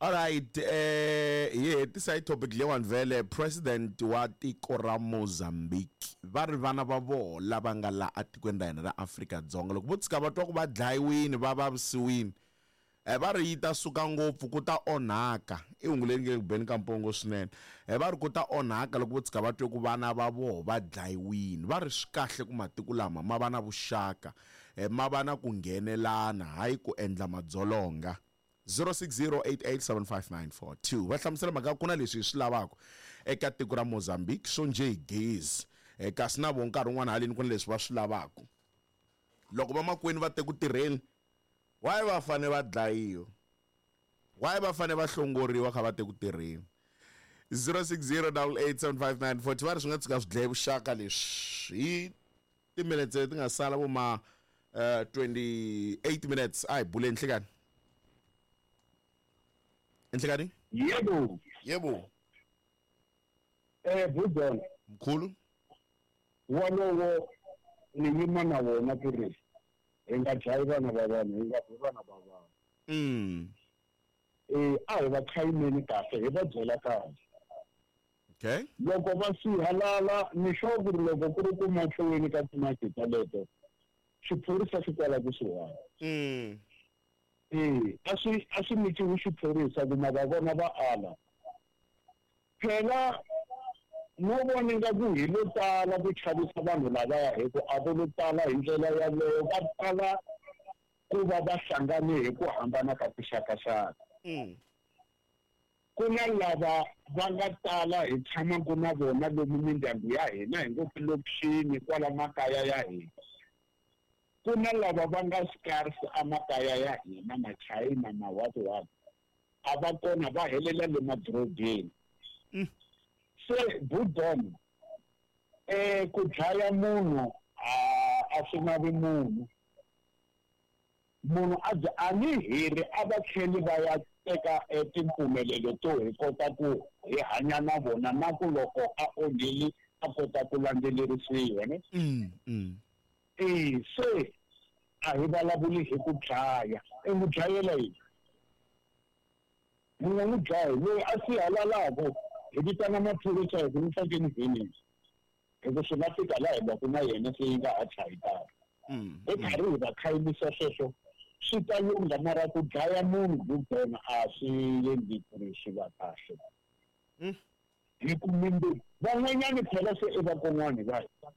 Alright, hi hetisa hi topic leyiwani vhele. President wa tiko ra Mozambique va ri vana va voho lava nga la atikweni ra hina ra Afrika-Dzonga loko vo tshika va twa ku va dlayiwini, va vavisiwini, va ri yi ta suka ngopfu, ku ta onhaka. I hungu leri nge le ku beni ka mpongo swinene. Va ri ku ta onhaka loko vo tshika va twe ku vana va voho va dlayiwini. Va ri swi kahle ku matiko lama ma va na vuxaka, ma va na ku nghenelana, hayi ku endla madzolonga. 0608875942 va hlamusela mhaka ku na leswi hi swi lavaka eka tiko ra Mozambique swo njhe hi gezi, kasi na vo nkarhi wun'wana haleni ku na leswi va swi lavaka. Loko vamakwenu va te ku tirheni, why va fane va dlayiwa? Why va fane va hlongoriwa kha va te ku tirheni? 0608875942 va ri swi nga tshuka swi dlaye vuxaka leswi. Hi timinetse leti nga sala vo ma 28 minutes, a hi buleni. Nhlekani, nhlekani. Yebo. Yebo. Budon. Mkhulu. Walowo ni yima na wona ku ri hi nga dlayi vana va vanhu, hi nga bi vana va vanhu. A hi va khayimeni kahle, hi va byela kahle. Loko va sihalala, ni sure ku ri loko ku ri ku mahlweni ka timaki taleto, xiphorisa xi kwala kusuhani. A swi nyikiwi xiphorisa ku ma va vona va ala. Phela no vona ingaku hi lo tala ku chavisa vanhu lavaya, hi ku a vo lo tala hi ndlela yaleyo, va tala ku va va hlangane hi ku hambana ka tixakaxaka. Ku na lava va nga tala hi tshamaka na vona lomu mindyangu ya hina, hi ngo tilokixini kwala makaya ya hina. Ku na lava va nga scarce emakaya ya hina, machayina, ma what what, a va kona, va helela le madorobeni. Se Budon, ku dlaya munhu a swi navi munhu. Munhu a byi a ni hiri, a va tlheli va ya teka timpfumelelo to hi kota ku hi hanya na vona, na ku loko a onhile a kota ku landzelerisiwa, ne? Se a hi vulavuli hi ku dlaya. I n'wi dlayela yini? Mi nga n'wi dlayi. Loyi a sihalalaka, hi vitana maphorisa hi ku n'wi fakeni vhenini, hi ku swi nga fika laha hi lwaku na yena se yi nga ha chayi tano. Hi karhi hi va khayimisa sweswo swi ta lungha, mara ku dlaya munhu Budon a swi endli ku ri swi va kahle. Hi ku mimbi van'wanyani phela se i vakon'wani va hina.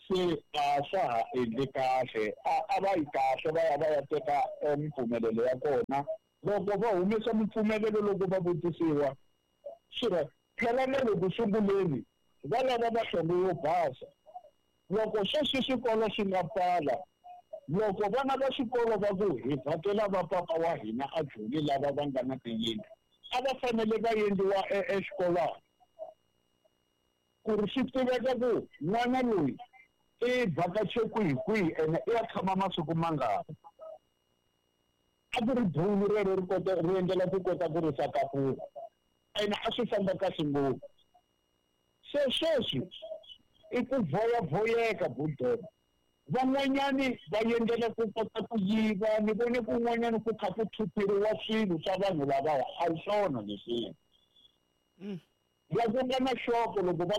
Se a swa ha endli kahle, a va yi kahle va ya va ya teka mimpfumelelo ya kona. Loko va humesa mimpfumelelo loko va vutisiwa swi ri phela na le ku sunguleni va lava mahlongo yo basa. Loko sweswi swikolo swi nga pfala, loko vana va xikolo va ku hi vhakela va papa wa hina a Joni lava va nga na tiyindlu, a va fanele va endliwa exikolwana ku ri swi tiveka ku n'wana loyi i vhakache kwihi kwihi ene i ya tshama masiku mangani. A ku ri bulu rero ri kota ri endlela ku kota ku risa tafula, ene a swi famba kahle ngopfu. Se sweswi i ku voyavoyeka Budon. Van'wanyani va endlela ku kota ku yiva, ni vone kun'wanyani ku kha ku thutheriwa swilo swa vanhu lavaya, a hi swona leswiya. La ku nga na xoko loko va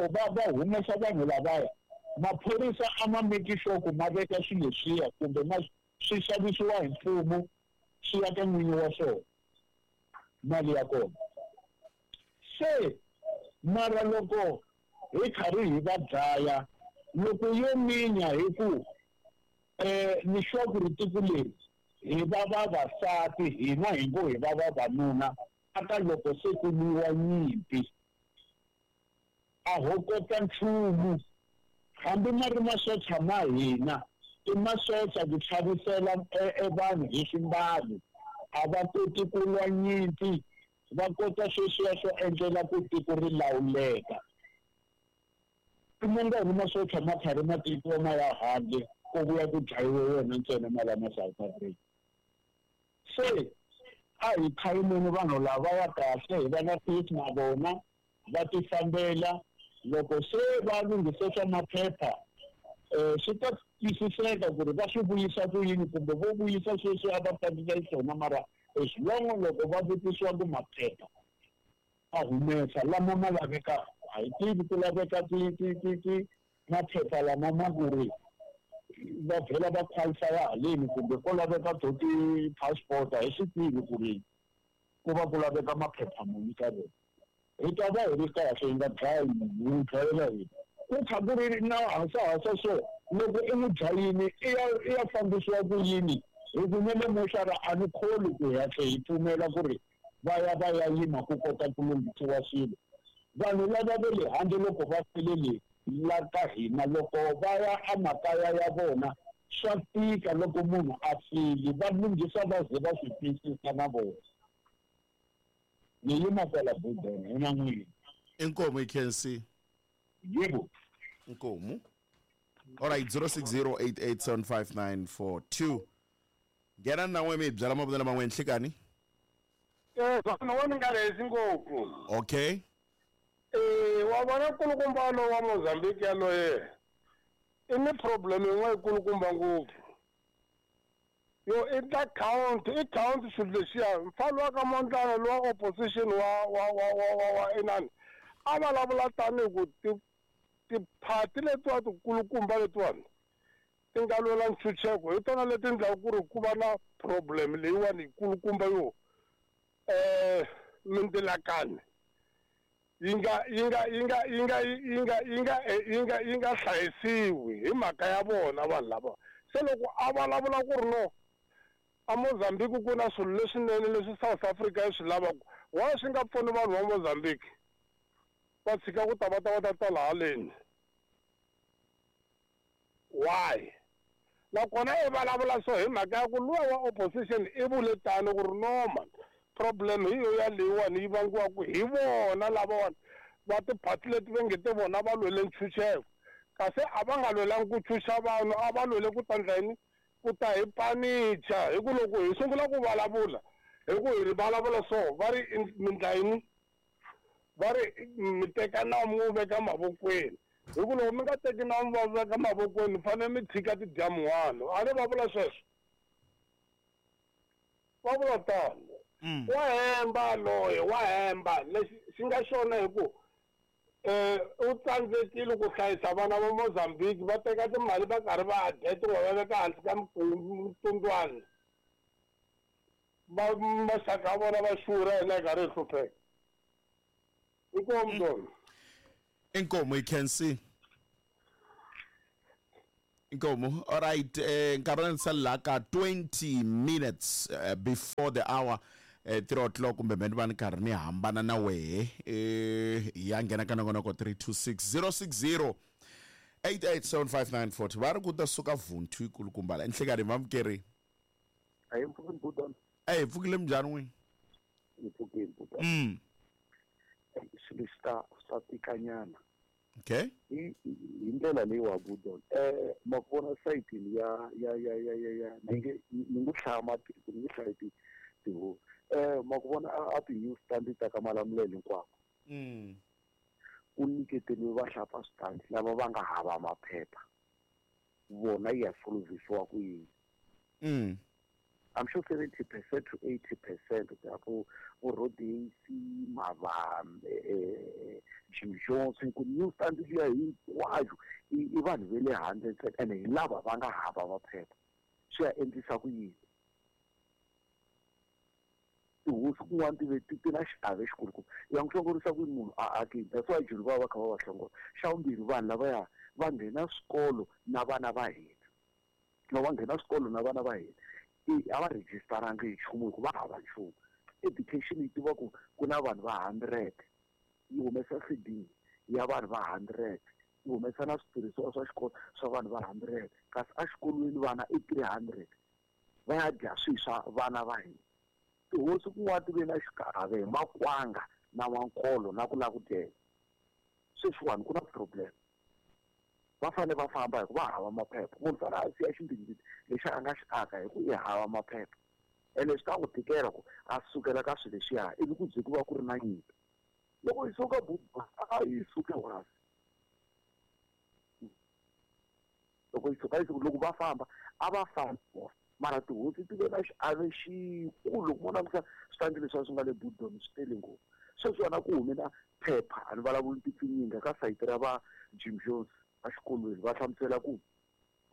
va va humesa vanhu lavaya, maphorisa a ma make sure ku ma veka swilo leswiya kumbe ma swi xavisiwa hi mfumo swi ya ka n'winyi wa swona mali ya kona. Se mara loko hi karhi hi va dlaya, loko yo minya hi ku ni sure ku ri tiko leri hi va vavasati, hina hi ngo hi va vavanuna, aka loko se ku lwiwa nyimpi a ho kota nchumu. Hambi ma ri masocha ma hina i masocha ku chavisela e vanhu hi swimbalo, a va koti ku lwa nyimpi, va kota sweswiya swo endlela ku tiko ri lawuleka. I mangani masocha ma karhi ma tekiwa ma ya handle ko vuya ku dlayiwe wona ntsena ma la ma South Africa. Se a hi khayimeni vanhu lava ya kahle, hi va na peace na vona, va tifambela. Loko se va lunghise swa maphepha, swi ta twisiseka ku ri va swi vuyisa ku yini kumbe vo vuyisa sweswi a va fambisa xiswona, mara As long loko va vutisiwa ku maphepha a humesa lama ma lavekaka, a hi tivi ku laveka ti maphepha lama ma ku ri va vhela va qualify haleni kumbe ko laveka to ti-passport, a hi swi tivi ku ri ku va ku laveka maphepha muni ka vona. Hi ta va hi ri kahle, hi nga dlayi munhu, hi n'wi dlayela yini? Ku kha ku ri na hasahasa, so loko i n'wi dlayini i ya fambisiwa ku yini? Hi ku ne le moxara a ni kholi ku hi hatla hi pfumela ku ri va ya va ya yima ku kota ku lunghisiwa swilo. Vanhu lava va le handle loko va file le la ka hina, loko va ya emakaya ya vona, swa tika. Loko munhu a file, va lunghisa va ze va swi twisisa na vona. Ni yima kwala budeni hi na n'wini. Inkomu, i-KNC. Yebo. Inkomu. Alright, 0608875942, nghena na n'we mi hi byela mavonelo man'we nhlikani. Swona wa ni nga lehisi ngopfu. Okay. Wa vona, nkulukumba lowu wa Mozambique yaloye i ni problem yin'we yikulukumba ngopfu yo i ta count, i count swilo lexiya. Mfana wa ka Mondlane lowa opposition wa inani a vulavula tanihi ku tiphati letiwa tikulukumba letiwani ti nga lwela ntshunxeko, hi tona leti endlaka ku ri ku va na problem leyiwani yikulukumba yo mindzilakani yi nga hlayisiwi hi mhaka ya vona vanhu lava. Se loko a vulavula ku ri no, a Mozambique ku na swilo leswinene leswi South Africa yi swi lavaka, why swi nga pfuni vanhu va Mozambique va tshika ku ta va ta tala haleni? Why? Nakona i vulavula so hi mhaka ya ku luwa wa opposition i vule tano ku ri no man, problem hi yo ya leyiwani yi vangiwaka hi vona lavawani va tiphati leti va nge te vona va lwele ntshunxeko, kasi a va nga lwelangi ku tshunxa vanhu, a va lwele ku ta ndla yini? Ku ta hi panicha. Hi ku loko hi sungula ku vulavula, hi ku hi ri vulavula so, va ri mi ndla yini? Va ri mi teka nawu mi wu veka mavokweni, hi ku loko mi nga teki nawu mi va veka mavokweni, mi fanele mi tshika ti dya mun'wana. A ni va vula sweswo, va vula tano. Wa hemba loye, wa hemba. Lexi xi nga xona hi ku u tsandzekile ku hlayisa vana va Mozambique, va teka timali va karhi va dya tin'wana, va veka hansi ka mutundwani, va maxaka ya vona va xurha, hina hi karhi hi hlupheka. Inkomu tona. Inkomu, i-KNC. Inkomu. Alright, nkarhi wa la ka 20 minutes before the hour, 3 o'clock, kumbe mhe ni va ni karhi ni hambana na wehe, ya nghena ka nongonoko 326 060 887594. Va ri ku ta suka vhunthu yikulukumba la enhlekani vamukeri. A hi mpfukini, butana. Eyi, pfukile, minjhani n'wini? Hi pfukile, butana. Swilo swi ta tikanyana. Hi ndlela leyi wa budon, ma ku vona sayitini ya ni nge hlaya matiko, ni nge hlayi tihosi, ma ku vona a ti-news stand ta ka Malamulele hinkwako ku nyiketeriwe vahlapfa switandi lava va nga hava maphepha, vona yi ya solvisiwa ku yini? I'm sure 70% to 80% ku ya vo Rodesi, Mavambe, Jim Johnson, ku new stand liya hinkwayo i vanhu ve le handle ntsena, ene hi lava va nga hava maphepha. Swi ya endlisa ku yini? Tihosi kun'wana ti ve ti na xiave xikulukumba, ya n'wi hlongorisa ku yini munhu a akini? That's why Joni va va kha va va hlongola. Xa vumbirhi, vanhu lavaya va nghena swikolo na vana va hina, loko va nghena swikolo na vana va hina, a va rejistarangi hi nchumu hi ku va hava nchumu. Education yi tiva ku ku na vanhu va 100, yi humesa feeding ya vanhu va 100, yi humesa na switirhisiwa swa xikolo swa vanhu va 100, kasi exikolweni vana i 300, va ya dya swihi swa vana va hina? Tihosi kun'wana ti ve na xiave hi makwanga na mankolo na ku lava ku dyela. Sweswiwani ku na problem, va fanele va famba hi ku va hava maphepha. Munhu fanele a siya ximbimbiti lexi a nga xi aka hi ku i hava maphepha, ene swi ta n'wi tikela ku a sukela ka swilo leswiya, ivi ku bye ku va ku ri na nyimpi. Loko yi suka buba, a yi suke wasi. Loko yi suka, yi suka. Loko va famba, a va fambi. Mara tihosi ti ve na xiave xikulu loko mo langusa switandi leswi a swi nga le Budon swi tele ngopfu. Sweswiwani a ku hume na phepha a ni vulavuli tipfinyinga ka sayiti ra va Jim Jones exikolweni va hlamusela ku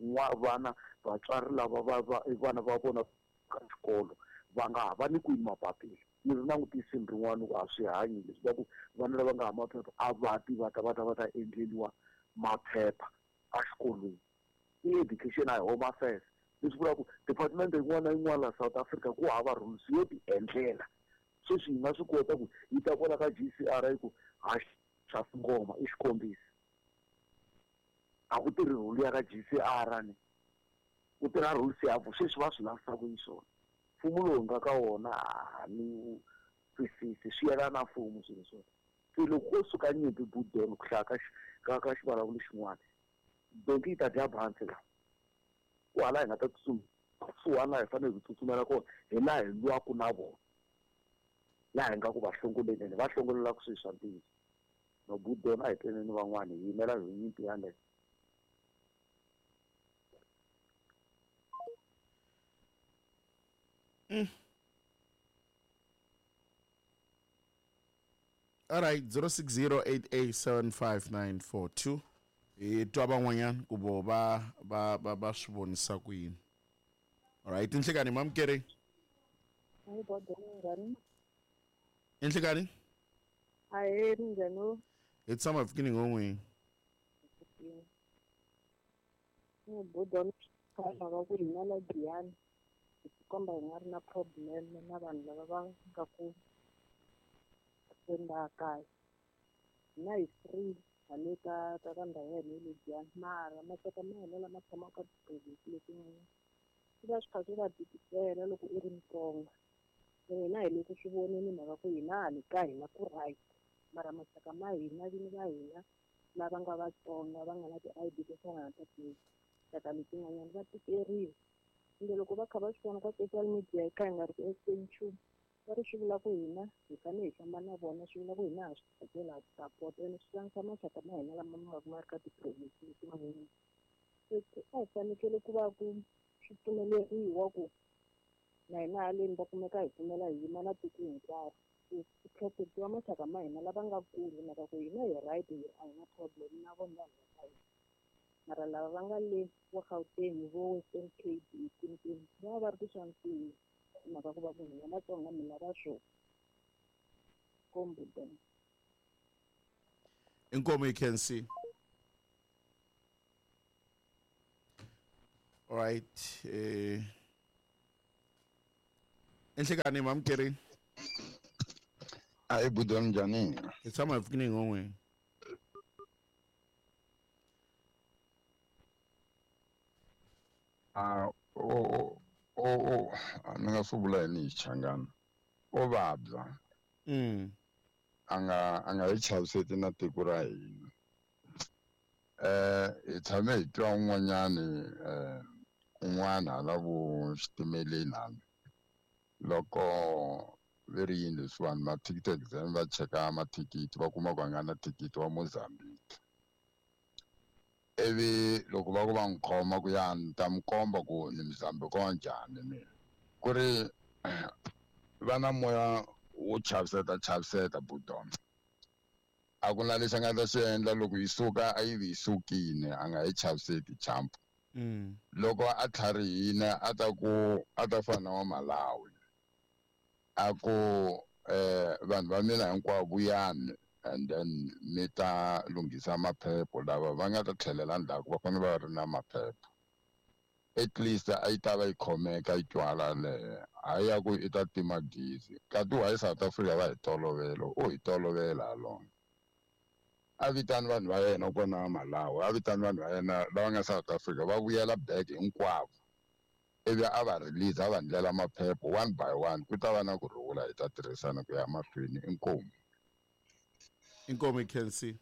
n'wa vana vatswari lava va va vana va vona ka xikolo va nga ha va nyikiwi mapapila. Ni ri langutisini rin'wana ku a swi hanyi leswi va ku vana lava nga ha maphepha a va ti va ta va ta va ta endleriwa maphepha exikolweni. I education a hi home affairs leswi vulaka ku department yin'wana na yin'wana la South Africa ku hava rules yo ti endlela. Sweswi hi nga swi kota ku yi ta kwala ka G_C_R yi ku ha xa ngoma i xikombiso. A ku tirhi rule ya ka G_C_R ni ku tirha rules ya vo sweswi va swi lavisaka xiswona. Mfumo lowu hi nga ka wona a ni wu twisisi swi yelana na mfumo swilo swona. Se loko ko suka nyimpi Budon ku hlaya ka ka ka xivulavuli xin'wana donki yi ta dya bansi la. Ku hala hi nga ta tsutsuma kusuhani laha hi fanele hi tsutsumela kona hi laha hi lwaka na vona. Laha hi nga ku va hlongoleni ene va hlongolelaka swilo swa ntiyiso. No Budon a hi tweneni van'wana hi yimela hi nyimpi yaleyo. All right, 0608875942. Hi twa van'wanyana ku vo va va va va swi vonisa ku yini. All right, inhlekani mamukeri. Hayi bodo njhani? Inhlekani? Ahee, minjhani? Hi tshama hi pfukini ngon'wini. Ni bodo mhaka ku hina la Giyani hi tikomba hi nga ri na problem na vanhu lava va nga ku laha kaya. Hina hi free hale ka ka ka ndhawu ya hina ya le Giyani mara maxaka ma hina lama tshamaka ka ti-province letin'wanyana swi va swi kha swi va tikisela loko u ri Mutsonga. Hina hi le ku swi voneni mhaka ku hina hale ka hina ku right mara maxaka ma hina vini va hina lava nga Vatsonga va nga na ti-I_D to fana na ta tinxaka letin'wanyana va tikeriwa. Ende loko va kha va swi vona ka social media hi kha hi nga ri ku endleni nchumu va ri swi vula ku hina hi fanele hi famba na vona swi vula ku hina ha swi tsakela ha swi support ene swi tlangisa maxaka ma hina lama ma va ma ri ka ti-province letin'wanyana. Se a hi fanekele ku va ku swi pfumeleriwa ku na hina haleni va kumeka hi pfumela hi yima na tiko hinkwaro ku ku protect-iwa maxaka ma hina lava nga kule mhaka ku hina hi right hi a hi na problem na vona vanhu va ka hina. Mara lava va nga le vo Gauteng vo Western Cape kwinikwini va va va ri ku xanisiweni hi mhaka ku va ku hina Vatsonga mi lava swo kombo then. Inkomo you can see. All right. Inhlekani mamukeri. Ayi budo njhani? Hi tshama hi pfukini ngon'wini. A o o o ni nga swi vula yini hi Xichangani. O vabya. A nga hi chaviseti na tiko ra hina. Hi tshame hi twa un'wanyani un'wana hala vo xitimeleni hala. Loko ve ri yini leswiwani mathikithi exam va cheka mathikithi va kuma ku a nga na thikithi wa Mozambique. Ivi loko va ku va n'wi khoma ku ya ni ta mi komba ku ni Mozambique wa njhani mina. Ku ri va na moya wo chaviseta chaviseta Budon. A ku na lexi a nga ta xi endla loko yi suka a yi vi yi sukile a nga yi chaviseti champ. Loko a tlharihile a ta ku a ta fana na wa Malawi. A ku vanhu va mina hinkwavo vuyani and then mi ta lunghisa maphepha lava va nga ta tlhelela ndzhaku va fanele va ri na maphepha. At least a yi ta va yi khomeka yi twala leyo hayi ya ku i ta tima gezi. Kasi why South Africa va hi tolovela u hi tolovela halona. A vitani vanhu va yena kona Malawi a vitani vanhu va yena lava nga South Africa va vuyela back hinkwavo. Ivi a va release a va ndlela maphepha one by one ku ta va na ku rhula hi ta tirhisana ku ya mahlweni inkomu. Inkomu you can see.